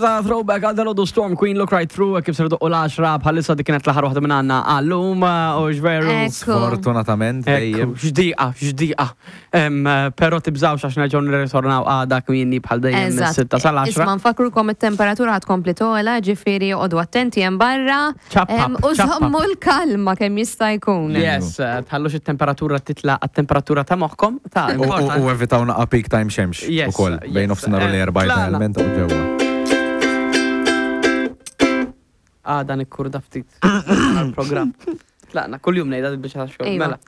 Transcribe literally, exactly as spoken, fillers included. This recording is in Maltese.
Ta' throwback għal dal Storm Queen, Look Right Through, kif ser doqqu l-għaxra bħalissa. Dik kienet l-aħħar waħda minn għandna għallum, u ġveru. Ekku. Sfortunatament, dejjem. Ekku, xdiqa, xdiqa. Em, Pero tibżawx, għax nerġgħu nirritornaw għada kmieni bħal dejjem mis-sitta sal-għaxra. Isma', nfakkrukom, it-temperatura ħa tkompli togħla, ġifieri oqogħdu attenti hemm barra. Ċappap, Em, U ċappap. żommu l-kalma kemm jista' jkun. Yes, eh, tħallux it-temperatura titla' għat-temperatura ta' moħħkom. Ta' U- U important. u evitaw naqa peak time xemx. Yes, U koll, bejn yes. nofsinhar u Eh, l-erba tlaqna. idealment u ġewwa. Ah, dan ikkurda ftit. Għal-program. Tlaqna, kull jum ngħidha biex xogħol. Iva. Mela.